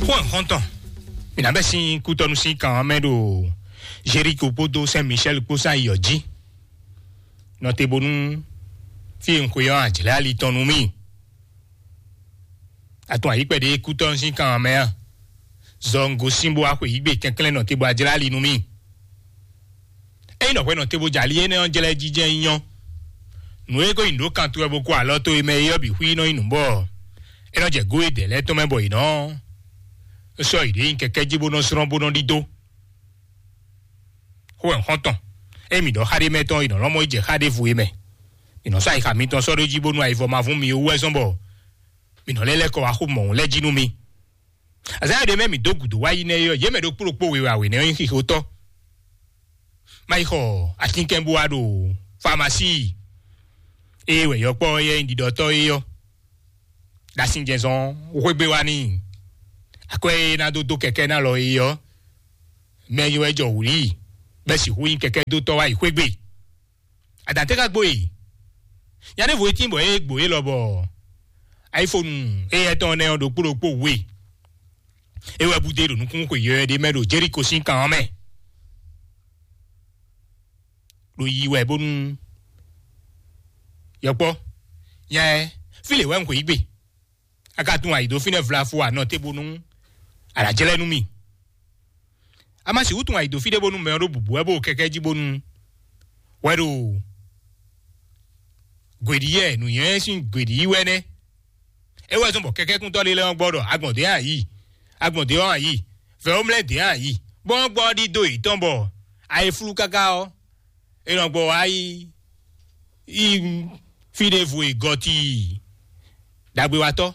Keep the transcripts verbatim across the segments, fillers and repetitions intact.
Xó ɛ xɔ́ntɔn, mǐ ná bɛ́ sín kútɔ́nú sín kan ɔ́ mɛ ɖo Jeriko kpódó Sɛn Michɛl kpó sán yi ɔ́ jí. Nɔ te bónú fí e un xwe ɔ́, a jlɛ́ ali tɔn nú mì. A tunwun ayǐ kpɛɖé kútɔ́nú sín kan ɔ́ mɛ a? Zɔ un gosín bó wá xweyǐgbe kɛnklɛ́n nɔ te bó a jlɛ́ ali nú mì. Ényí nɔ hwɛ nɔ te bó jɛ ali énɛ́ ɔ́ jlɛ́ jijɛ nyí ɔ́, nǔ e ko nyi nǔ ɖó kan towe bó kó alɔ towe mɛ é ɔ́ bǐ xwí nɔ nyí nǔ bɔ é nɔ jɛ gó e dɛ̌ lɛ́ɛ tɔn mɛ bɔ yě nɔ sɔ́ yě ɖě nyi kɛkɛ́ jí bó nɔ zlɔ́n bó nɔ ɖidó. Xó wɛ xɔ́ntɔn, ényí mǐ ɖɔ xá ɖé mɛ tɔn, è nɔ lɔn mɔ yi jɛ xá ɖěvo e mɛ. Mǐ nɔ sɔ́ ayixa mitɔn sɔ́ ɖó jí bónú ayivɔ ma vún mi wú wɛ zɔ́n bɔ mǐ nɔ lɛ́ lɛ́ kɔ wá xó mɔ̌hun lɛ́ɛ jí nú mi. Azǎn ɖé mɛ mǐ dó gǔdo wá yi nɛ́ é ɔ́, yě mɛ ɖokpó ɖokpó wěwé awě nɛ́ ɔ́ nyí xixotɔ́. Má yi xɔ atínkɛn bó wá ɖo famasíi e wɛ yɔkpɔ́ ɔ́ yɛ nyí ɖiɖɔtɔ́ é ɔ́. Ɖo asinjɛnzɔn xwégbé wá n'i. Akwɛ́ e ná dó dó kɛkɛ́ ná lɔ é ɔ́, mɛ e wɛ jɔ wǔ n'i, bɔ é sixú nyí kɛkɛ́dótɔ́ wá yi xwégbé. Adǎn tɛ́ ka gbo e? Nya ɖěvo e tín bɔ é gbo é lɔ bɔ ayifonu éyɛ́ tɔn nɛ́ ɔ́ ɖokpó ɖokpó wú e. É wɛ búdé ɖo nukúnxwe yɔyɔ̌ ɖé mɛ ɖo Jeriko sín kan ɔ́ mɛ. Ɖo yi wɛ bónú yɔkpɔ́, nya ɛ, fí lě wɛ un xweyǐgbe. A ka tunwun ayǐ dó fínɛ́ vlafo anɔ te bónú a nǎ jlɛ́ nú mì. A ma sixú tunwun ayǐ dó fí ɖé bónú mɛ ɔ́ ɖó bǔbú wɛ bó kɛkɛ́ jí bónú wɛ ɖo gwěɖíyɛ nǔnywɛ́ sín gwěɖíyí wɛ nɛ́. É wɛ zɔ́n bɔ kɛkɛ́kúntɔ́ ɖé lɛ́ɛ ɔ́ gbɔ ɖɔ agbɔ̌n dě a yǐ, agbɔ̌n dě ɔ́ a yǐ, vɛ̌womlɛ́ dě a yǐ, bɔ ɔ́ gbɔ ɔ́ ɖidó yětɔn bɔ ayi flú káká ɔ́, é nɔ gbɔ wá yi yi fí ɖěvo e gɔ́ tíi. Ɖagbewatɔ́,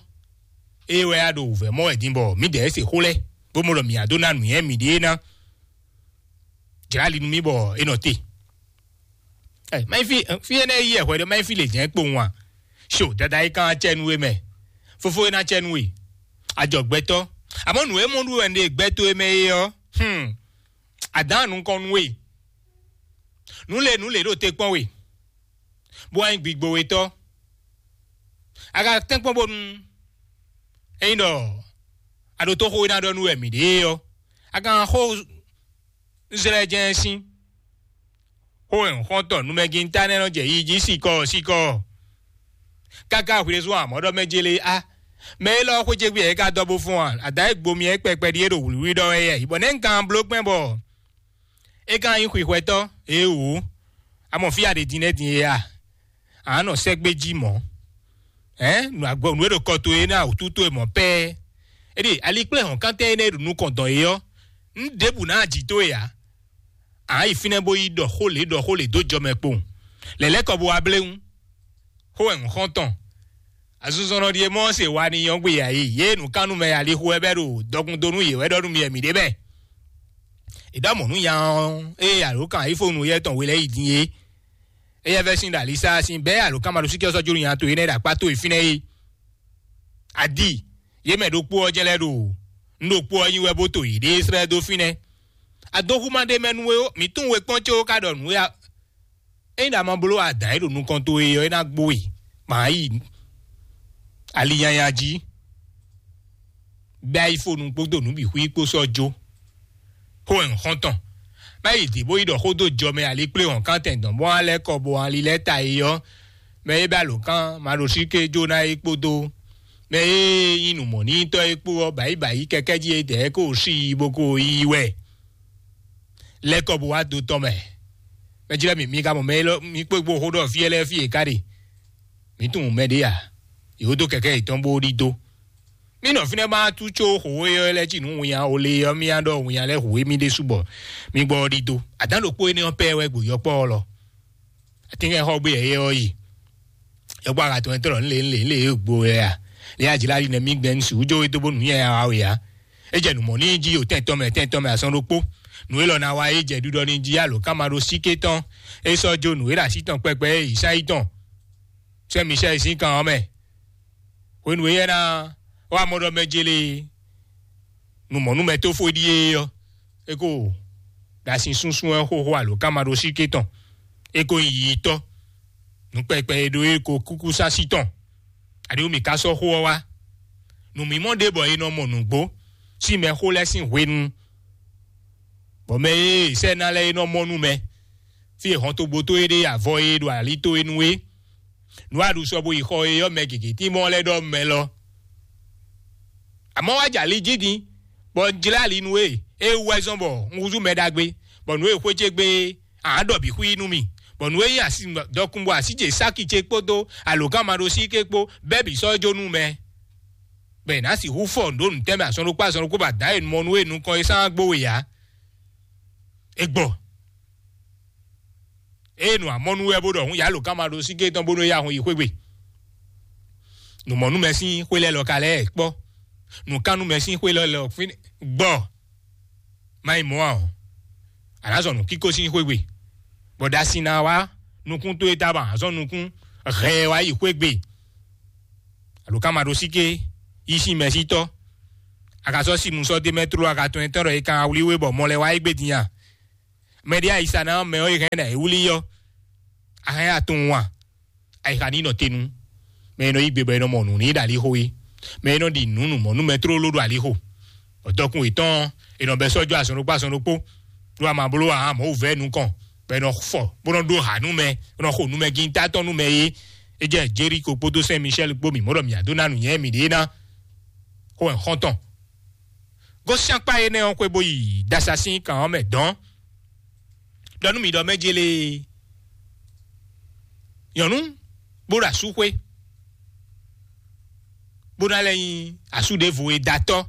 ée wɛ a ɖo wǔvɛ́ mɔ wɛ din bɔ mǐdɛɛ se xó lɛ́ɛ, bó mɔ ɖɔ mǐ á dó ná nǔnywɛ́ mǐɖée ná. Jlǎ ali nú mì bɔ é nɔ te. Ɛ, má nyí fí fí énɛ́ yí ɛ hwɛ ɖé, má nyí fí lě jɛ́n kpowun a? Ṣo dada é kán acɛ nú we mɛ, fofó é ná acɛ nú we, ajɔ gbɛtɔ́. Àmọ́ nǔ e mɔ ɖu wɛ un ɖe gbɛ towe mɛ é ɔ́, hmm, a dǎn nukɔn nú we. Nǔ le nǔ le ɖo te kpɔ́n we, bó wá nyí gbigbowetɔ́. A ka tɛ́nkpɔ́n bónú ényí ɖɔ a ɖo tó xó e ná ɖɔ nú wɛ mǐ ɖe é ɔ́, a ka xó zlɛ́ jɛ́n sín. Xó e un xɔ́n tɔn numɛgintá nɛ́ nɔ jɛ yi jí sikɔ sikɔ. Káká hwlɛ́zɔn amɔ̌ ɖɔ mɛ jélé á, mɛ élɔ́ xwé ce gbé yɛ é ka dɔ bó fɔ́n a? Adǎ e gbo myɛ kpɛkpɛ ɖíe ɖo wlǐwlí ɖɔ wɛ yɛ, bɔ nɛ̌ un kan bló gbɛn bɔ é ka nyí xwixwɛtɔ́? Ee wǒ, a mɔ fí a ɖe din lɛ́ɛ din é a? A nɔ sɛ́gbé jí mɔ̌. Hɛ̌n, nǔ agbɔ nǔ e ɖo kɔ towe ná wǔtu towe mɔ̌ pɛ́ɛ. É ɖe ali kplé hɔ̌nkántɛn énɛ́ e ɖo nukɔn dɔn é ɔ́, un ɖěbǔ ná jǐ towe ǎ. A yi fínɛ́ bó yi ɖɔ xó lě ɖɔ xó lě dó jɔ mɛ kpowun. Lɛ̌lɛ́ kɔ bó wá bléwún. Xó wɛ un xɔ́n tɔn. Azinzɔnnɔ ɖíe mɔ se wa ni nyɔ́ gbe ya yi. Yě nǔkánnú mɛ alixo wɛ bɛ́ ɖo dɔkun dó nú yě wɛ ɖɔ nú mi wɛ mǐ ɖe bɛ́. È ɖɔ mɔ̌ nú nya ɔ́, ée alǒkan ayífónú yɛ tɔn we lɛ́ɛ yi din é. Éyɛ́ vɛ́ sín ɖo alisá sín bɛ́ alǒkan ma ɖo síkɛ́ sɔ́ jó nú nya towe énɛ́ ɖo akpá towe fínɛ́ é. Adi, yě mɛ ɖokpó ɔ́ jɛ́n lɛ́ ɖo un ɖokpó ɔ́ nyi wɛ bó to yěɖée slɛ́ dó fínɛ́. Adóxúma ɖé mɛ nú we ó, mǐ tunwun we kpɔ́n có ka ɖɔ nǔ é a? Ényí ɖo a ma bló adǎn e ɖo nukɔn towe ɔ́, é ná gbo we, ma yi ali nyanya jí, bɛ́ ayífónú kpódó nǔ bǐ xwí kpó sɔ́ jó. Xó wɛ un xɔ́n tɔn. Má yi dǐ bó yi ɖɔ xó dó jɔ mɛ ali kplé hɔn kántɛn dɔn bó wá lɛ́ kɔ bó wá lílɛ́ ta é ɔ́, mɛ e bɛ́ alǒkan ma ɖo síké jó ná é kpódó mɛ e nyí nǔmɔ̌nítɔ́ é kpó ɔ́, bǎyi bǎyi kɛkɛ́ jí é dɛ̌ kó sí i bó kó yí wɛ. Lɛ́ kɔ bó wá do tɔn mɛ. Mɛ jlɛ́ mì, mi ka mɔ mɛ élɔ́, mi kpé gbó xó ɖɔ fí ɛ́ lɛ́ɛ fí e ká ɖe. Mǐ tunwun mɛ ɖé a? Yě wó dó kɛkɛ́ yětɔn bó ɖidó. Mí nɔ fínɛ́ má tú có xǒ e ɔ́ lɛ́ɛ cí nǔ winnya o le ɔ́, mí á ɖɔ winnya lɛ́ɛ hu émí ɖésú bɔ mí gbɔ ɔ́ ɖidó. Adǎn ɖokpó énɛ́ ɔ́ pɛ́ wɛ gbo yɔkpɔ́ ɔ́ lɔ. Atínkɛn xɔ gbé yɛ ɔ́ yi. Yɔkpɔ́ aga tɔn tɔn nlé nlé nlé e gbo wɛ a? Lé ajlá yi nɛ mí gbɛn su jó e dó bó nǔ nyɛ ya wa wɛ a? É jɛ nǔ mɔ n'i jí o tɛn tɔn mɛ tɛn tɔn mɛ asɔn ɖokpó. Nǔ élɔ́ ná wa é jɛ ɖiɖɔ n'i jí alǒ ká ma ɖó síké tɔn. É sɔ́ jó nǔ e ɖo así tɔn kpɛkpɛ é yi sá yi tɔn. Sɛ́ Micɛ́l sín kan ɔ́ mɛ. Hwenu éyɛ́ ná wá mɔ ɖɔ mɛ jélé nǔmɔnúmɛtófó ɖíe ɔ́, é ko ɖo asin súnsún ɛ xóxó alo ká ma ɖó síké tɔn. É ko nyí yiyitɔ́. Nǔ kpɛkpɛ e ɖó é ko kúkú sásí tɔn. Aɖéwú mǐ ka sɔ́ xó ɔ́ wá. Nǔmimɔ ɖé bɔ è nɔ mɔ nǔgbó. sín mɛxó lɛ́ɛ sín hwenu, bɔ mɛ e sɛ́ ná lɛ́ɛ é nɔ mɔ nú mɛ, fí e hɔntogbó towe ɖe avɔ e ɖo ali towe nu é. Nǔ a ɖu sɔ bo yi xɔ e ɔ́, mɛ gěgé tín mɔ lɛ́ɛ ɖɔ mɛ lɔ. Àmọ́ wá jɛ ali jí din, bɔ un jlɛ́ ali nú we, é wú wɛ zɔ́n bɔ un húzú mɛ ɖagbe, bɔ nǔ e xwé ce gbe é, a nǎ ɖɔ bǐ xwí nú mì, bɔ nǔ e nyí asi dɔkun bɔ así ce sáki ce kpódó alǒkanmaɖósíké kpó bɛ́ bǐ sɔ́ jó nú mɛ. Bɔ è nǎ sixú fɔ nǔ ɖó nǔtɛ́ mɛ azɔn ɖokpó azɔn ɖokpó bɔ adǎn e mɔ nú we nukɔn e sán gbó we ǎ. É gbɔ. Ée nǔ amɔ́ nú wɛ bó ɖɔ hǔn yǎ lǒkanmaɖósíké tɔn bónú é yá hun yi xwé gbe. Nǔmɔnúmɛ sín xwé lɛ́ɛ lɔ ka lɛ́ɛ kpɔ́. Nǔkánnúmɛ sín xwé lɛ́ɛ lɔ fín gbɔ. Má yi mɔ̌ ǎ ɔ́, a nǎ zɔ nǔkíkó sín xwé gbe, bɔ ɖa sin ná wá nukún towe ta bɔ a nǎ zɔ nukún hɛɛ wá yi xwé gbe. Alǒkanmaɖósíké yí sín mɛsítɔ́. A ka sɔ́ simu sɔ́ dé mɛ tló a ka tunwun etɔ́ ɖɔ è kan wlí we bɔ mɔ lɛ́ wá yi gbé din a? Mɛ ɖé ayisa ná mɛ ɔ́, è hɛn ná é wlí ɔ́, a hɛn atun wan. Ayixa ní nɔ te nú mɛ e nɔ yí gbe bɔ è nɔ mɔ nǔ n'i ɖo alixo é, mɛ e nɔ ɖi nǔ nǔ mɔ nú mɛ tlóló ɖo alixo. Bɔ dɔkun yětɔn è nɔ bɛ sɔ́ jó azɔn ɖokpó azɔn ɖokpó, ɖó a ma bló ahan Mawu vɛ́ nukɔn, bɔ è nɔ fɔ bó nɔ ɖó ha nú mɛ, bó nɔ xo nú mɛ gíntá tɔn nú mɛ é. É jɛ Jeriko kpódó Sɛn Michɛ́l kpó mǐ mɔ ɖɔ mǐ adó ná nǔnywɛ́ mǐɖée ná. Xó wɛ xɔ́ntɔn. Gosín akpá énɛ́ ɔ́ xwé bó yi ɖasa sín kan ɔ́ mɛ dɔ̌n. Ɖɔ nú mì ɖɔ mɛ jélé nyɔ̌nu bó ɖo asú xwé, bó ná lɛ́ nyí asú ɖěvo e da tɔ́.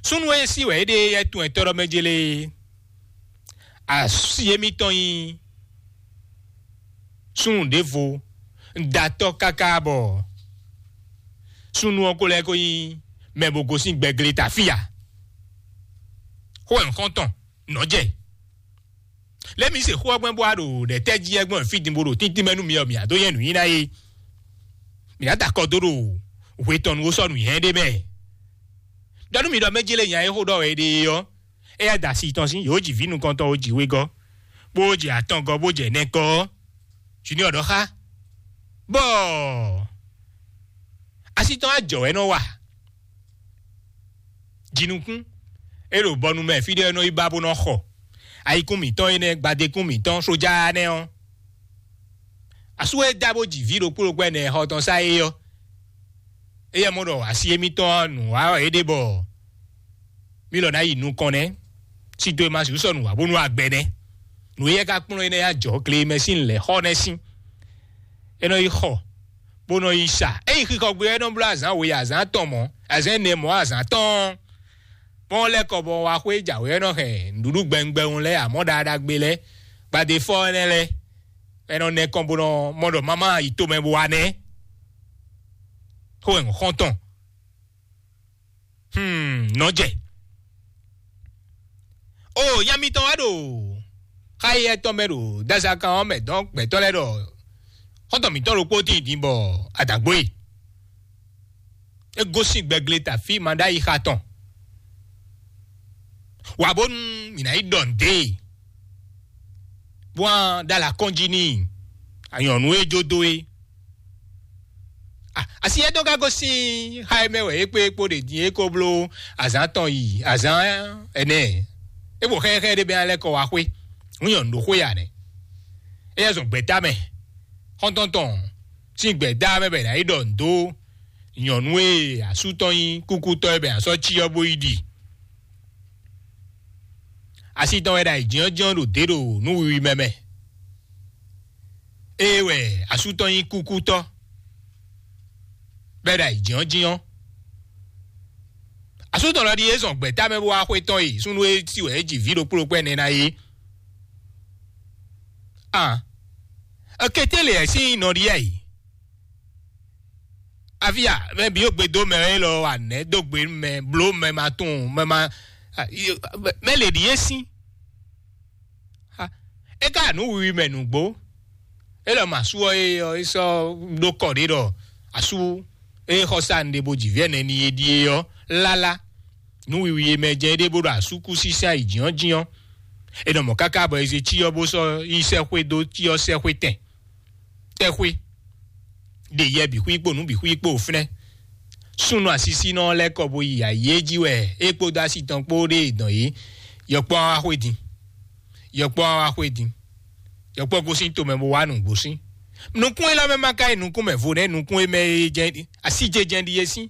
Súnnu e sí wɛ é ɖe yɛ tun ɛtɔ́ ɖɔ mɛ jélé asi émítɔn nyí súnnu ɖěvo da tɔ́ káká bɔ súnnu ɔ́ ko lɛ́ ko nyí mɛ bo gosín gbɛglé ta fí ǎ. Xó wɛ un xɔ́n tɔn nɔ́ jɛ. Lě mi se xó ɔ́ gbɛn bó wá ɖo ɖɛ̌tɛ́ jí ɛ gbɔn fí din bó ɖo tíntín mɛ nú mi ɔ́, mi ǎ dó nyɛ nǔnyiná é. Mi ná da akɔ dó ɖo hwe tɔn nu ó sɔ́ nǔnyiná ɖé mɛ. Ɖɔ nú mi ɖɔ mɛ jélé nya e xó ɖɔ wɛ é ɖe é ɔ́, éyɛ́ da asi tɔn sín yǒ jǐ vǐ nukɔntɔn ó jǐ wegɔ́, bó jɛ atɔngɔ́ bó jɛ nɛkɔ ɔ́, junior ɖɔ xá bɔ asi tɔn á jɔ wɛ nɔ wa. Jinukún é ɖo bɔnu mɛ fí ɖé nɔ yi ba bó nɔ xɔ ayikún mǐtɔn énɛ́, gbadékún mǐtɔn sójá nɛ́ ɔ́. Asú e dá bó ji vǐ ɖokpó ɖokpó ɛnɛ xɔ tɔn sá é ɔ́, éyɛ́ mɔ ɖɔ asi émítɔn ɔ́ nǔ wa wɛ é ɖe bɔ mí lɔ ná yi nukɔn nɛ́. Sito e ma sixú sɔ́ nǔ wa bónú agbɛ nɛ́. Nǔ éyɛ́ ka kplɔ́n énɛ́ yi ajɔ gle mɛ sín lɛ̌ xɔ nɛ́ sín. É nɔ yi xɔ bó nɔ yi sa. É yi xixɔ gbe ɔ́, é nɔ bló azǎn we azǎn atɔn mɔ̌, azǎn ɛnɛ mɔ̌ azǎn atɔ́ɔ́n. Bɔn lɛ́ kɔ bɔ wá xwé jǎwe ɔ́ nɔ hɛn nǔɖuɖu gbɛngbɛn lɛ́ɛ, amɔ̌ ɖaɖagbe lɛ́ɛ, gbadéfɔ énɛ́ lɛ́ɛ, é nɔ nɛ kɔn bó nɔ mɔ ɖɔ mama yi tomɛ bó wá nɛ́. Xó wɛ xɔ́ntɔn. Hmm, nɔ jɛ. O nya mitɔn wá ɖo xáyɛ tɔn mɛ ɖo dazakan ɔ́ mɛ dɔn gbɛtɔ́ lɛ́ɛ ɖɔ xɔ́ntɔn mǐtɔn ɖokpó tíin din bɔ adǎgbó e. É gosín gbɛgle ta fí ma ɖ'ayǐ xa tɔn. Wǎ bónú mǐ ná yi ɖɔ nǔ dó e, bó wá ɖó alɔ akɔ́njí n'i, anyɔ̌nu e jó dó é. A- asi étɔn ka gosín xá e mɛ wɛ é kpé kpó ɖe din é ko bló azǎn tɔn yi azǎn ɛnɛ. É bo xɛxɛ ɖé bɛ́ alɛ kɔ wá xwé. Nú nyɔ̌nu ɖo xwé ya nɛ́. Éyɛ́ zɔn gbɛ̌ta mɛ. Xɔ́ntɔn tɔn sín gbɛ̌da mɛ bɛ ná yi ɖɔ nǔ dó nyɔ̌nu e asú tɔn nyí kúkútɔ́ e bɛ ná sɔ́ cyɔ bó yi ɖi. Asi tɔn wɛ ɖo ayǐjínjɔ́n ɖo dě ɖo nǔ wiwi mɛ mɛ. Ée wɛ asú tɔn nyí kúkútɔ́ bɛ́ ɖo ayǐjínjɔ́n. Asú tɔn lɔ ɖíe zɔn gbɛ̌ta mɛ bó wá xwé tɔn e súnnu e sí wɛ é ji vǐ ɖokpó ɖokpó ɛnɛ ná é. An, ekété lě ɛ sín nɔ ɖíe yi. Afi a, mɛ bǐ yóò gbe dó mɛ élɔ́ wa nɛ̌ dó gbe nú mɛ, bló mɛ ma tunwun, mɛ ma, a, yi- mɛ lě ɖíe sín. A, é ka nǔ wiwi mɛ nǔgbó. É lɔ mɔ asú ɔ́ é ɔ́ é sɔ́ ɖó kɔ ɖé ɖɔ asú é xɔ sa nɖe bo jǐ vɛ́ nɛni e ɖíe ɔ́ lálá. Nǔ wiwi e mɛ jɛ é ɖé bó ɖo asú kú sísá yi jǐɔ́njǐɔ́n. É nɔ mɔ káká bɔ é zé cyɔ bó sɔ́ yi sɛ́xwé dó cyɔ sɛ́xwé tɛn. Tɛ́xwé ɖe yɛ bǐ xwí kpo nǔ bǐ xwí kpo fínɛ́. Súnnu asisínɔ lɛ́ɛ kɔ bo yi ayǐ e jí wɛ é kpódó asi tɔn kpó ɖe dɔn yě. Yɔkpɔ́ wá xwé din. Yɔkpɔ́ wá xwé din. Yɔkpɔ́ gosín tomɛ bó wá nǔ gosín. Nukún élɔ́ mɛ ma ka yi nukún mɛ vo nɛ́ nukún e mɛ e jɛ́n así jɛjɛn ɖi é sín.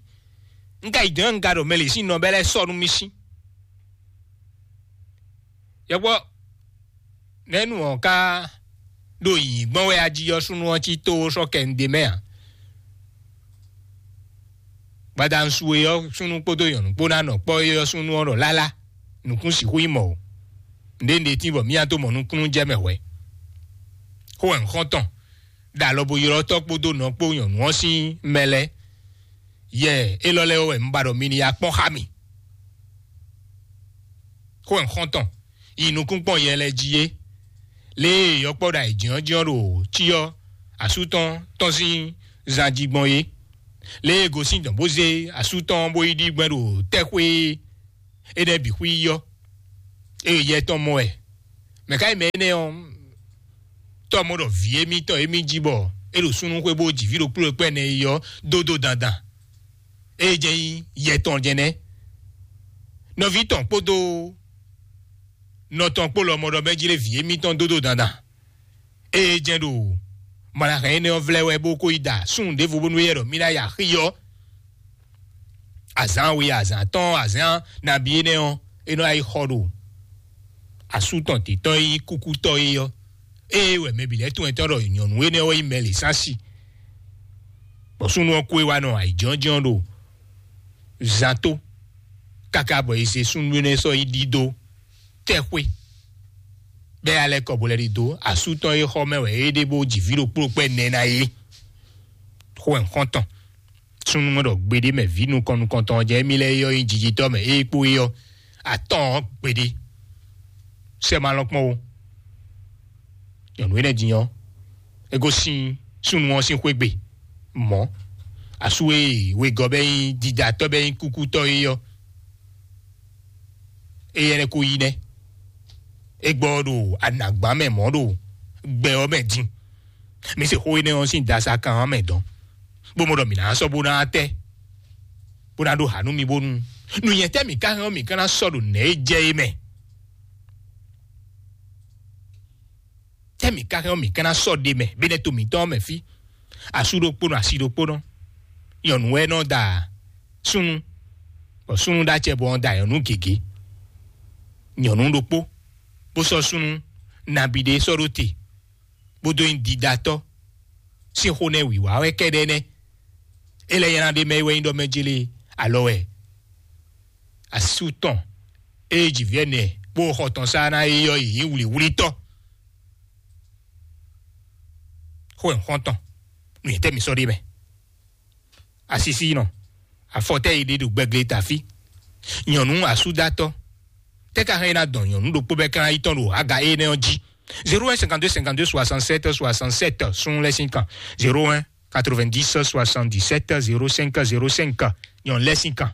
Un ka yi dɔ̌n un ka ɖo mɛ lě sín nɔ bɛ́ lɛ́ɛ sɔ́ nú mì sín. Yɔkpɔ́ nɛ̌nu ɔ́ ka ɖo yǐyí gbɔn wɛ ají ɔ́ súnnu ɔ́ cí tó sɔ́ kɛ un ɖe mɛ ǎ. Gbadanu su e ɔ́ súnnu kpódó nyɔ̌nu kpó ná nɔ kpɔ́ é ɔ́ súnnu ɔ́ ɖɔ lálá nukún sixú nyí mɔ̌ o. Nǔɖé nǔɖé tín bɔ mía tó mɔ nukúnnú jɛ mɛ hwɛ̌. Xó wɛ un xɔ́n tɔn ɖo alɔ bo ylɔ́ tɔ́ kpódó nɔ kpó nyɔ̌nu ɔ́ sín mɛ lɛ́ɛ. Yɛ élɔ́ lɛ́ɛ wɛ un ba ɖɔ mi ní ya kpɔ́n xá mì. Xó wɛ un xɔ́n tɔn yi nukún kpɔ́n yɛ lɛ́ɛ jí é. Lě e yɔkpɔ́ ɖo ayǐjínjɔ́n ɖo cyɔ asú tɔn tɔn sín zan jí gbɔn é. Lě e gosín dɔn bó zé asú tɔn bó yi ɖi gbɛn ɖo tɛ́xwé énɛ́ bǐ xwí yɔ. Ée yɛ tɔn mɔ wɛ. Mɛ̌ ká nyí mɛ énɛ́ ɔ́? Tɔ́ mɔ ɖɔ vǐ émítɔn émí jí bɔ é ɖo súnnu xwé bó ji vǐ ɖokpó ɖokpó ɛnɛ yi ɔ́ dó dó dandan. Ée jɛ́n nyí yɛ tɔn jɛ́n nɛ́. Nɔví tɔn kpódó nɔ tɔn kpó lɔmɔɖɔ mɛ jí lé vǐ émítɔn dó dó dandan. Ée jɛ́n ɖo mɔ̌ ná hɛn énɛ́ ɔ́ vlɛ́ wɛ bó kó yi da súnnu ɖěvo bónú éyɛ́ ɖɔ mí ná yi axi ɔ́. Azǎn we azǎn tɔn azǎn nabí énɛ́ ɔ́, é nɔ yi xɔ ɖo asú tɔn títɔn e nyí kúkútɔ́ é ɔ́. Ée wɛ mɛ bǐ lɛ́ɛ tunwun tɔn ɖɔ nyɔ̌nu énɛ́ ɔ́ wɛ nyí mɛ lě sán si. Bɔ súnnu ɔ́ kú é wá nɔ ayǐjínjɔ́n ɖo zan tó káká bɔ è zé súnnu énɛ́ sɔ́ yi ɖidó tɛ́xwé. Bɛ́ alɛ kɔ bo lɛ́ ɖidó asú tɔn e xɔ mɛ wɛ é ɖe bó ji vǐ ɖokpó ɖokpó ɛnɛ ná é. Xó wɛ un xɔ́n tɔn. Súnnu mɛ ɖɔ gbeɖé mɛ vǐ nukɔn nukɔntɔn jɛ émí lɛ́ɛ é ɔ́ nyí jijitɔ́ mɛ é kpó é ɔ́ atɔ́ɔ́n gbeɖé. Sɛ ma lɔn kpɔ́n o. Nyɔ̌nu énɛ́ din ɔ́, é gosín súnnu ɔ́ sín xwé gbe mɔ̌. Asú e wegɔ́ bɛ́ nyí didatɔ́ bɛ́ nyí kúkútɔ́ é ɔ́, éyɛ́ lɛ́ kó yí nɛ́. É gbɔ ɖo anǎgbá mɛ mɔ̌ ɖo gbɛ ɔ́ mɛ din. Mi se xó énɛ́ ɔ́ sín dasa kan ɔ́ mɛ dɔn, bó mɔ ɖɔ mǐ ná sɔ́ bó ná tɛ́, bó ná ɖó hǎ nú mi bónú nǔnyɛ tɛ́ mǐ ka hɛn ɔ́ mǐ ka ná sɔ́ ɖo nɛ̌ é jɛ é mɛ. Tɛ́ mǐ ka hɛn ɔ́ mǐ ka ná sɔ́ ɖe mɛ bɛ́nɛ́ to mǐtɔn ɔ́ mɛ fí. Asú ɖokpónɔ asi ɖokpónɔ, nyɔ̌nu wɛ nɔ da súnnu, bɔ súnnu ɖó acɛ bɔ ɔ́ da nyɔ̌nu gěgé. Nyɔ̌nu ɖokpó bó sɔ́ súnnu nabí ɖé sɔ́ ɖó te, bó dó nyí didatɔ́ sín xó nɛ́ wǐwá wɛ kɛ́ɖɛ́ nɛ́. É lɛ́ nylá ɖé mɛ é wɛ nyí ɖɔ mɛ jélé alɔ wɛ asú tɔn e ji vǐ ɛnɛ bó xɔ tɔn sá ná é ɔ́ yi nyí wlǐwlítɔ́. Xó wɛ un xɔ́n tɔn nǔnyɛtɛ́ mi sɔ́ ɖe mɛ. Asisínɔ, afɔtɛ́ yi ɖe ɖo gbɛgle tafí. Nyɔ̌nu asúdátɔ́, tɛ́ ka hɛn é ná dɔn nyɔ̌nu ɖokpó bɛ́ ka ná yi tɔn ɖo aga énɛ́ ɔ́ jí? Zéro un cinquante-deux cinquante-deux soixante-sept soixante-sept sun lɛ́ sín kan. Zéro un quatre-vingt-dix soixante-dix-sept zéro cinq zéro cinq. Nyɔ̌nu lɛ́ sín kan.